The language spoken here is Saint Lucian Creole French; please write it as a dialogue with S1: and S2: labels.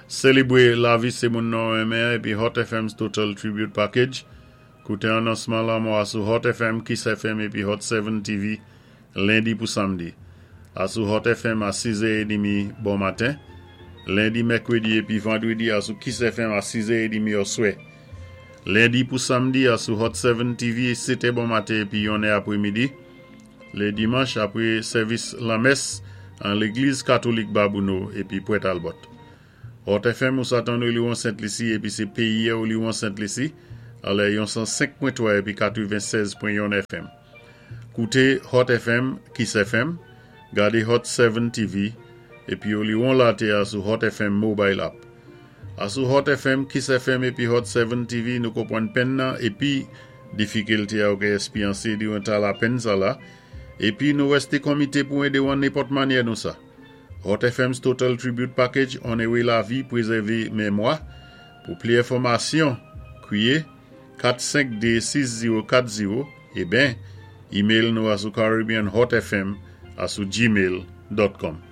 S1: Sélébwé lavi sé moun nou renmen épi Hot FM's Total Tribute Package. Kouté anonsman lanmò a sou Hot FM, Kiss FM épi Hot 7 TV lendi pou samdi. Asou Hot FM a 6h30 bon maten. Lendi, mèkwédi épi vandwédi asou Kiss FM a 6h30 oswè. Lendi pou samdi asou Hot 7 TV 7 bon maten épi 1 apwémidi. Lé dimanch apwé sèvis lanmès an Légliz Katolik Babouno épi Pwent Albòt. Hot FM ou sa tann Oliwon Sent Lisi épi sé péyi Oliwon Sent Lisi anlè yon 105.3 épi 96.1 FM. Kouté Hot FM, Kiss FM, gadé Hot 7 TV épi Oliwon Laté a sou Hot FM Mobile App. Asou Hot FM, Kiss FM épi Hot 7 TV nou konpwann penn nan épi difikilté a ou ka èspéryansé diwan tan lapenn sa la épi nou wèsté konmité pou édé ou an nenpòt mannyè nou sa. Hot FM's Total Tribute Package onwé lavi, pwézèvé mémwa. Pou pli enfòmasyon, kwiyé 452 6040 é ben, email nou asou caribbeanhotfm@gmail.com.